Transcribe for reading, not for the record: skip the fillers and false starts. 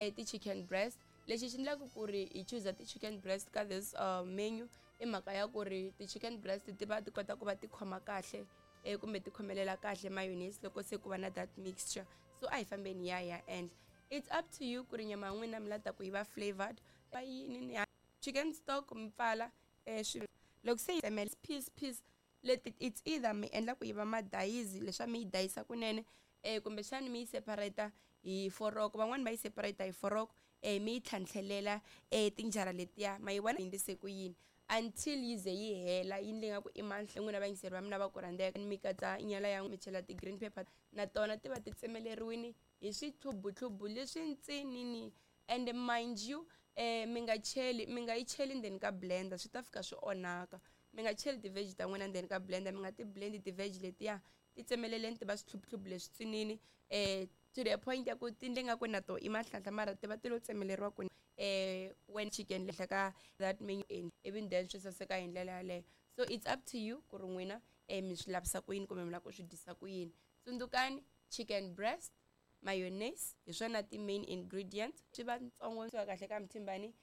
Ti-chicken breast, lexi xi endlaka ku ri hi chuza ti-chicken breast ka this menu i mhaka ya ku ri ti-chicken breast ti va ti kota ku va ti khoma kahle kumbe ti khomelela kahle mayonnaise loko se ku va na that mixture. So a hi fambeni ya hi ya endla. It's up to you ku ri nyama ya n'wina mi la ta ku yi va flavored va yini ni chicken stock mi pfala swi loko se yi tsemela piece piece leti. It's either mi endla ku yi va madayizi leswa mi yi dayisa kunene, kumbexani mi yi separate hi foroko. Van'wani va yi separate hi foroko, mi yi tlhantlhelela tinjara letiya, ma yi vona endlise ku yini, until yi ze yi hela yi ndle nga ku i manhle. N'wina vayingiseri va mina va ku rhandzeka, mi katsa nyala ya mi chela ti-green pepper na tona ti va ti tsemeleriwini hi swithlubuthlubu leswi ntsinini. And mind you, mi nga cheli, mi nga yi cheli ndzeni ka blender, swi ta fika swi onhaka. Mi nga cheli ti-veg ta n'wina ndzeni ka blender, mi nga ti blend ti-veg letiya. Ti tsemeleleni ti va swithlubuthlubu leswi tsinini to the point ya ku ti ndle nga ku na to i mahlanhla, mara ti va ti lo tsemeleriwa ku when chicken lehla ka that menu, ivi then swi saseka hi ndlela yaleyo. So it's up to you ku ri n'wina mi swi lavisa ku yini kumbe mi lava ku swi dyisa ku yini. Tsundzukani, chicken breast, mayonnaise, hi swona ti-main ingredients. Swi va ntsongo swi va kahle ka mthimbani.